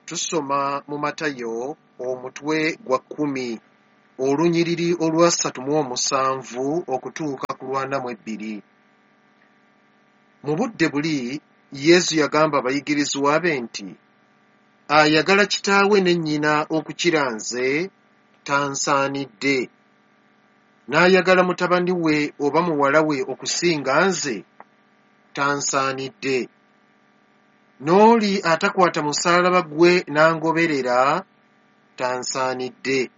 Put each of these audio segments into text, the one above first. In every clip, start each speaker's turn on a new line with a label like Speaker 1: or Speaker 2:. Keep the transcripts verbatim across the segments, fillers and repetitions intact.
Speaker 1: Tusoma mu Matayo omutwe gwa kkumi olunyiriri olwasatu mu omusanvu okutuuka ku lwana mu ebbiri. Mu budde buli Yesu yagamba abayigirizwa be nti, ayagala kitaawe ne nnyina okukira nze tansaanidde, n'ayagala mutabani we oba muwala we okusinga nze tansaanidde. N'oli atakwata musaalaba gwe n'angoberera tansaanidde.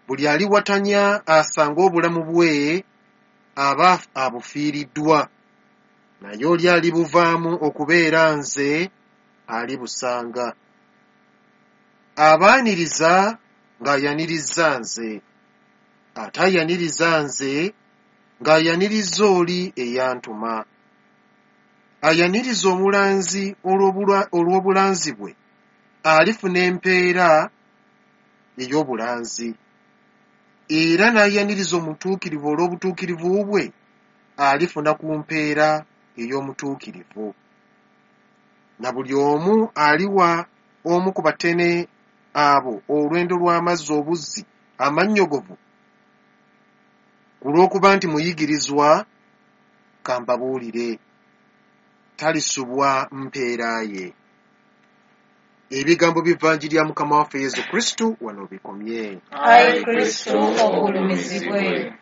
Speaker 1: Buli aliwatanya asanga obulamu bwe aba abufiiriddwa, naye oli alibuvaamu okubeera nze alibusanga. Abaaniriza ng'ayaniriza nze, ate ayaniriza nze ng'ayaniriza oli eyantuma. Ayaniriza omulanzi olw'obulanzi bwe alifuna empeera ey'obulanzi, era n'ayaniriza omutuukirivu olw'obutuukirivu bwe alifuna ku mpeera ey'omutuukirivu. Na buli omu aliwa omu ku batene abo olwendo lw'amazzi obuzzi amannyogovu ku lw'okuba nti muyigirizwa, kambabuulire, talisubwa mpeera ye. Ebigambo by'Evanjiri ya Mukama waffe Yesu Kristo wano bikomye.
Speaker 2: Ayi Kristo ogulumizibwe.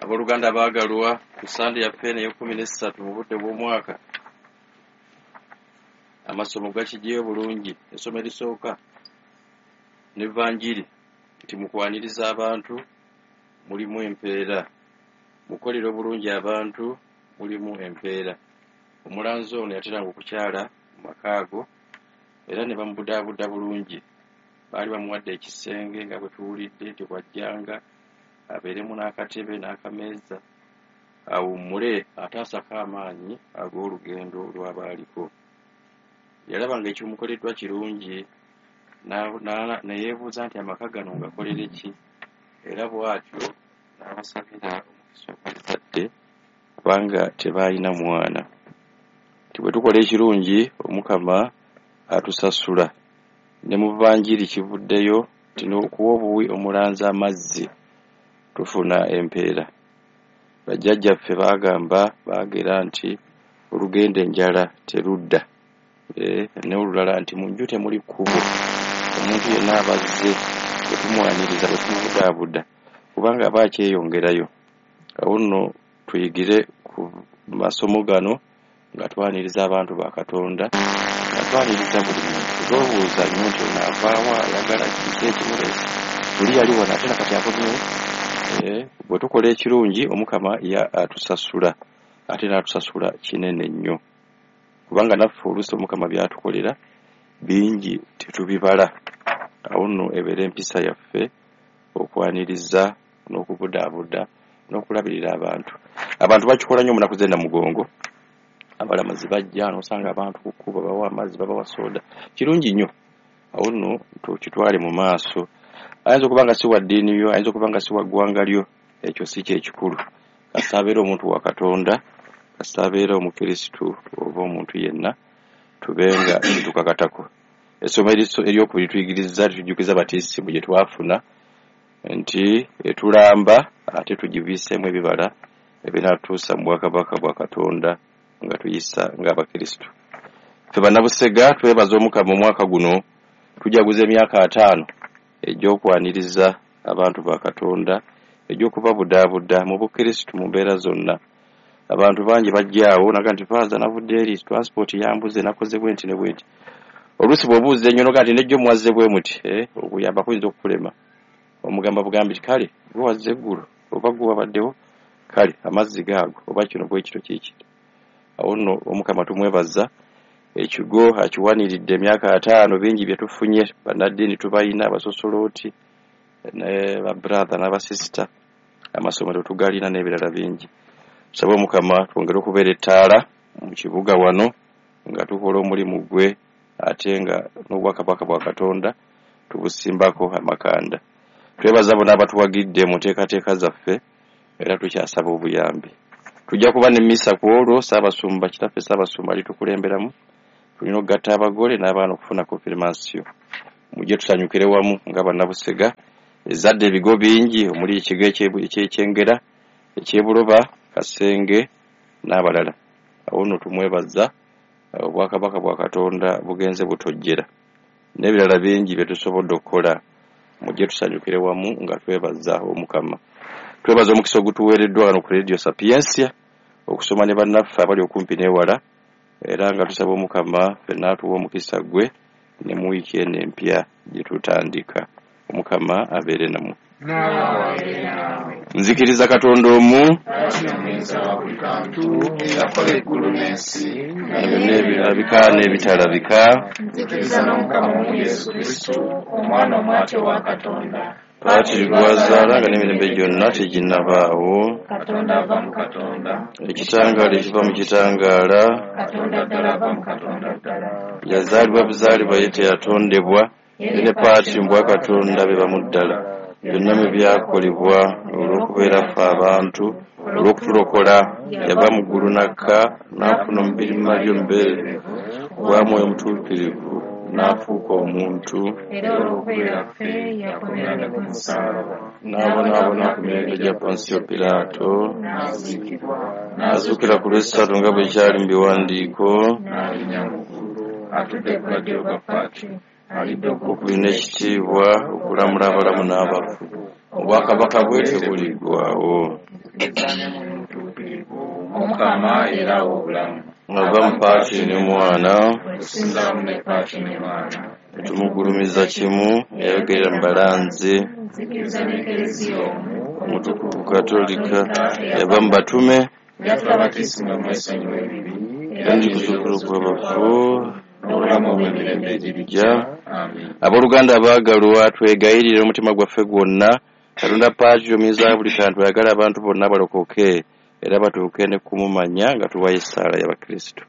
Speaker 3: Abooluganda baagalwa, ku Ssande yaffe eno ey'ekkumi n'essatu mu budde bw'omwaka, amasomo gakiggyeyo bulungi. Essomo erisooka n'Evanjiri nti mukwaniriza abantu mulimu empeera, mukolera obulungi abantu mulimu empeera. Omulanzi ono yateranga okukyala mu maka ago era ne bamubudaabuda bulungi. Baali bamuwadde ekisenge nga bwe tuwulidde nti bw'ajjanga abeeremu n'akatebe n'akameeza awummule ate asake amaanyi ag'olugendo lw'abaaliko. Yalaba ng'ekimukoleddwa kirungi ne yeebuuza nti amaka gano ngakolere ki, era bw'atyo n'abasabira omukisa ogw'ezzadde kubanga tebaalina mwana. Nti bwe tukola ekirungi Omukama atusasula. Ne mu Vanjiri kivuddeyo nti n'okuwa obuwi omulanzi amazzi tufuna empeera. Bajjajjaffe baagamba baagera nti olugenda enjala terudda, n'olulala nti mu nju temuli kkubo. Omuntu yenna abazze bwe tumwaniriza bwe tumubudaabuda kubanga aba akyeyongerayo. Awo nno tuyigire ku masomo gano nga twaniriza abantu ba Katonda, nga twaniriza buli muntu. Tolowooza nnyo nti ono avaawa, ayagala kiki ekimuleese, luli yali wano ate nakati akomyewo. Bwe tukola ekirungi Omukama ye atusasula, ate n'atusasula kinene nnyo, kubanga naffe oluusi Omukama by'atukolera bingi tetubibala. Awo nno ebeera empisa yaffe okwaniriza n'okubudaabuda n'okulabirira abantu. Abantu bakikola nnyo mu nnaku z'e Namugongo. Abalamazi bajja n'osanga abantu ku kkubo babawa amazzi, babawa sooda. Kirungi nnyo. Awo nno tukitwale mu maaso. Ayinza okuba nga si wa ddiini yo, ayinza okuba nga si wa ggwanga lyo, ekyo si kye kikulu. Kasita abeera omuntu wa Katonda, kasita abeera Omukristu oba omuntu yenna, tube nga kitukakatako. Essomo eryokubiri tuyigiriza litujjukiza batisimu gye twafuna nti etulamba ate tugibiiseemu ebibala ebinaatuusa mu bwakabaka bwa Katonda nga tuyisa ng'Abakristu. Ffe Bannabusega twebaza Omukama omwaka guno tujaguza emyaka ataano egy'okwaniriza abantu ba Katonda, egy'okubabudaabuda mu Bukristu mu mbeera zonna. Abantu bangi bajjaawo naga nti faaza navudde eri transport yambuze nakoze bwe nti ne bwe nti. Oluusi bw'obuuza ennyo noga nti nejjo mwazze bwe muti, okuyamba kuyinza okukulema. Omugamba bugambi nti kale gwe wazze eggulo oba gwe wabaddewo, kale amazzi gaago oba kino bwe kito kiiki. Awo nno Omukama tumwebaza ekigo akiwaniridde emyaka ataano bingi bye tufunye. Bannaddiini tubalina, abasosolooti ne babrother n'abasisita, amasomero tugalina n'ebirala bingi. Tusabe Omukama twongere okubeera ettaala mu kibuga wano nga tukola omulimu gwe ate nga n'obwakabaka bwa Katonda tubusimbako amakanda. Twebaza bonna abatuwagidde mu nteekateeka zaffe era tukyasaba obuyambi. Tujja kuba ne misa ku olwo, Ssaabasumba kitaffe Ssaabasumba alitukulemberamu. Tulina okugatta abagole n'abaana okufuna konfirmasiyo. Mujje tusanyukire wamu nga bannabusega. Ezadde ebigo bingi omuli ekigo eky'Ekyengera, eky'Ebuloba, Kasenge n'abalala. Awo nno tumwebaza, obwakabaka bwa Katonda bugenze butojjera n'ebirala bingi bye tusobodde okukola. Mujje tusanyukire wamu nga twebaza Omukama. Twebaza omukisa ogutuweereddwa wano ku Radio Sapientia okusoma ne bannaffe abali okumpi n'ewala, era nga tusaba Omukama ffenna atuwe omukisa gwe ne mu wiiki eno empya gye tutandika. Omukama abeere nammwe. Nzikiriza Katonda omu,
Speaker 2: eyakola eggulu n'ensi,
Speaker 3: na byonna ebirabika n'ebitalabika.
Speaker 2: Nzikiriza n'Omukama omu Yesu Kristo, Omwana omwate wa Katonda,
Speaker 3: Patri gwazaala nga n'emirembe gyonna teginnabaawo,
Speaker 2: Katonda ava mu Katonda,
Speaker 3: ekitangaala ekiva mu kitangaala,
Speaker 2: Katonda ddala ava mu Katonda ddala,
Speaker 3: yazaalibwa buzaalibwa ye teyatondebwa, ye ne Patri mu bwakatonda be bamu ddala. Byonna mwe byakolebwa olw'okubeera ffe abantu, olw'okutulokola, yava mu ggulu n'akka, n'afuna omubiri mu Mariya omubeerevu, obwa Mwoyo Mutuukirivu, n'afuuka omuntu,
Speaker 2: era olw'okubeera ffe yakomerera ku musaalaba,
Speaker 3: n'abonaabona ku mirembe gya Ponsiyo Piraato,
Speaker 2: n'aziikibwa,
Speaker 3: n'azuukira ku lw'essatu nga bwe kyali mu biwandiiko,
Speaker 2: n'alinnya mu ggulu, atudde ku lwa ddyo lwa Patri, alidde
Speaker 3: okubiri n'ekitiibwa okulamula abalamu n'abafu. Obwakabaka bwe tebuliggwaawo.
Speaker 2: Omukama era awa obulamu.
Speaker 3: Ava mu Patri ne Mwana,
Speaker 2: Okusinza wamu ne Patri ne Mwana,
Speaker 3: tumugulumiza kimu, eyayogerera mu balanzi,
Speaker 2: nzikiriza n'Ekereziya omu,
Speaker 3: omutukuvu Katolika, yava mu batume,
Speaker 2: yaffe abatismu mwesonyiwa ebibi,
Speaker 3: era ndikuzuukira kw'abafu,
Speaker 2: n'obulamu obw'emirembe egirijja. Amiina.
Speaker 3: Abooluganda abaagalwa, twegayirire omutima gwaffe gwonna Katonda Patri omuyinza wa buli kantu ayagala abantu bonna balokoke era batuuke ne kumumanya nga tuwayo essaala y'Abakristo.